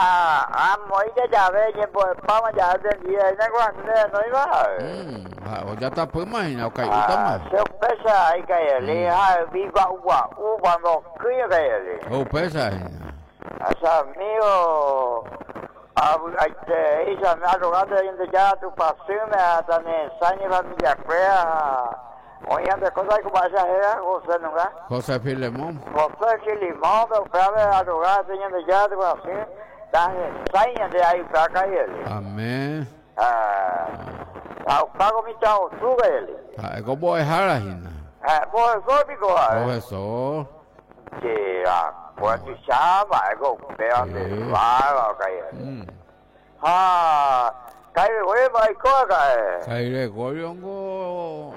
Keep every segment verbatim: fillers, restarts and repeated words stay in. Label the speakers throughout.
Speaker 1: Ah, amo ya ve, pa ya entendí, no iba.
Speaker 2: Mm, ya está pues imagina, okay, ah,
Speaker 1: se pesa ahí que ah, viva uva, uva no cría que
Speaker 2: Oh, pesa.
Speaker 1: Asa amigo, a este, esa me arrogante de ya tu pasión me hasta ne sañe familia crea. Oye, de cosas como esa era José nunca.
Speaker 2: José Filemón.
Speaker 1: José Filemón, pero clave arrogante de ya tu pasión. De ahí para él.
Speaker 2: Amén.
Speaker 1: Ah, pago mi chao, sube él.
Speaker 2: Ah, ¿cómo es Harajina?
Speaker 1: Ah, profesor, pico.
Speaker 2: Profesor.
Speaker 1: Sí, ah, pues tu chama, algo peor de va, cae. Ah, cae güey, va y coca.
Speaker 2: Cae Gregorio, no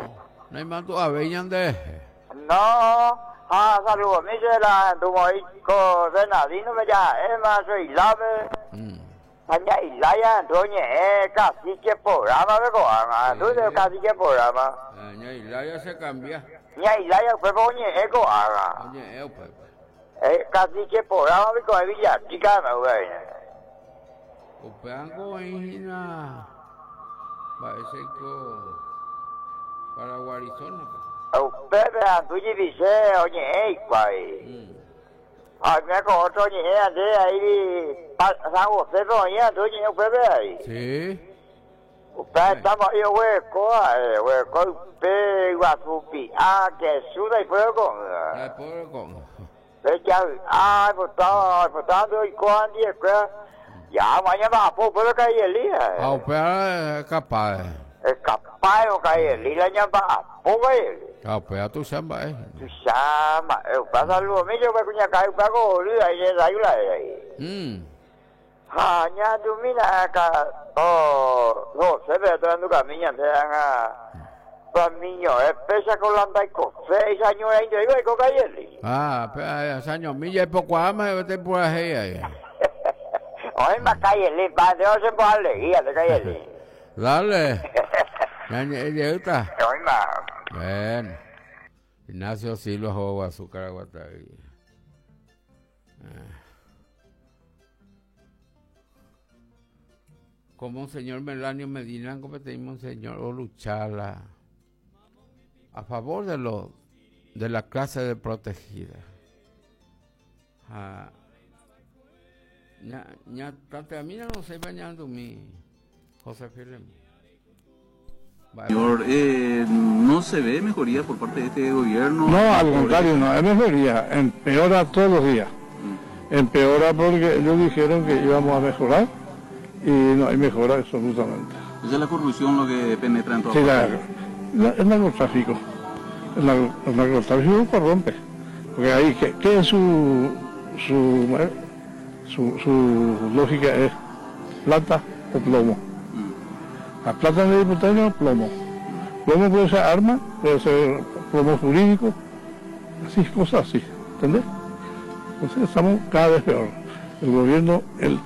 Speaker 2: hay mando a veñan de.
Speaker 1: No, ah, saludos, mi la tu moi ko Bernardino me ya, es más soy lave. Aña Ilaya, doña, eh, cacique programa, ve coama, tú de cacique programa.
Speaker 2: Aña Ilaya se cambia.
Speaker 1: Ña Ilaya fue oñe eh coama.
Speaker 2: Oñe eh pues.
Speaker 1: Eh, cacique programa, ve coama, Villa Chica, me güey.
Speaker 2: Upeango hina, parece que para Guarizona.
Speaker 1: Upepe anduye dice, oñe eh, guay. Ah, me con otro oñe ande ahí. San José, oñe, anduye upepe ahí.
Speaker 2: Sí.
Speaker 1: Upepe estamos ahí, hueco, hueco, upe, guasupi, ah, que suda y fuego con.
Speaker 2: Ay, fuego con.
Speaker 1: Ah, pues estaba, pues estaba, y con diez, ya, mañana va a poder caer el día.
Speaker 2: Ah, upe es capaz.
Speaker 1: Es capaz de caer el día, ya va a poder.
Speaker 2: Ah, pues a tu chamba, eh.
Speaker 1: Tu chamba, eh, pasa lo mismo, me cuña cae un poco, ahí le da ahí.
Speaker 2: Mm.
Speaker 1: Ah, ya tú mira acá, oh, no, se ve todo en tu camino, te dan a niño, es pesa con la y con seis años ahí, yo digo, con caer.
Speaker 2: Ah, pues años milla y poco ama, vete por ahí ahí.
Speaker 1: Hoy me cae el padre, no se puede alegría de caer.
Speaker 2: Dale. Ya, ya está.
Speaker 1: Hoy más.
Speaker 2: Bueno. Ignacio Silva juego azúcar aguatagui. Como un señor Melanio Medina, como tenemos un señor o luchala a favor de lo de la clase de protegida. Ah, ña, ña, tate a mí no sé bañando mi José Filemón.
Speaker 3: Señor, eh, ¿no se ve mejoría por parte de este gobierno?
Speaker 4: No, al contrario, no hay mejoría, empeora todos los días. Mm. Empeora porque ellos dijeron que íbamos a mejorar y no hay mejora absolutamente.
Speaker 3: ¿Esa es la corrupción lo que penetra en todo?
Speaker 4: Sí, la, la, el narcotráfico. El, el narcotráfico corrompe. Porque ahí, ¿qué, qué es su, su, su, su lógica? Es plata o plomo. La plata de diputado, plomo. Plomo puede ser arma, puede ser plomo jurídico, así, cosas así, ¿entendés? Entonces estamos cada vez peor. El gobierno, el,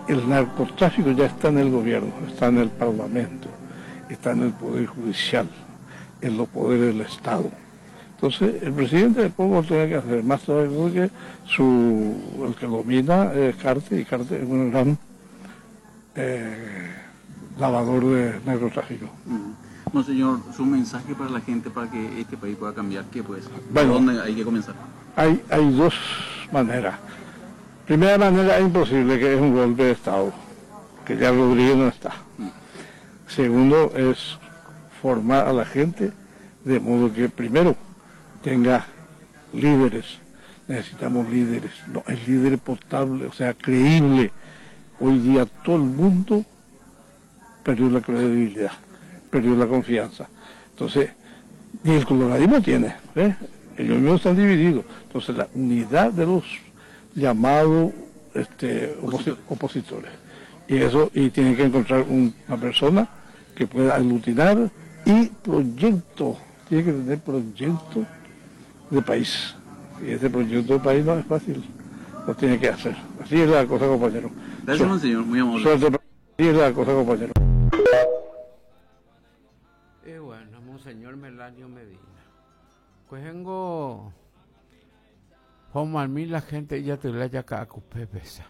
Speaker 4: el narcotráfico ya está en el gobierno, está en el parlamento, está en el poder judicial, en los poderes del Estado. Entonces el presidente poco tiene que hacer, más todavía porque su, el que domina es Cartes, y Cartes es un gran eh, lavador de narcotráfico.
Speaker 3: Mm. Monseñor, su mensaje para la gente para que este país pueda cambiar, ¿qué puede ser?
Speaker 4: Bueno,
Speaker 3: ¿Por dónde hay que comenzar?
Speaker 4: Hay, hay dos maneras. Primera manera es imposible, que es un golpe de Estado, que ya Rodríguez no está.
Speaker 3: Mm.
Speaker 4: Segundo es formar a la gente de modo que primero tenga líderes. Necesitamos líderes, no, el líder potable, o sea, creíble. Hoy día todo el mundo perdió la credibilidad, perdió la confianza. Entonces, ni el coloradismo tiene, ¿eh? Ellos mismos están divididos. Entonces, la unidad de los llamados este, oposi- opositores. Y eso, y tienen que encontrar un, una persona que pueda aglutinar y proyecto, tiene que tener proyecto de país. Y ese proyecto de país no es fácil, lo tiene que hacer. Así es la cosa, compañero.
Speaker 3: Gracias, monseñor, muy amable.
Speaker 4: Suerte, así es la cosa, compañero.
Speaker 2: Y bueno, monseñor Melanio Medina. Pues vengo, Juan la gente ya te la ya pesa.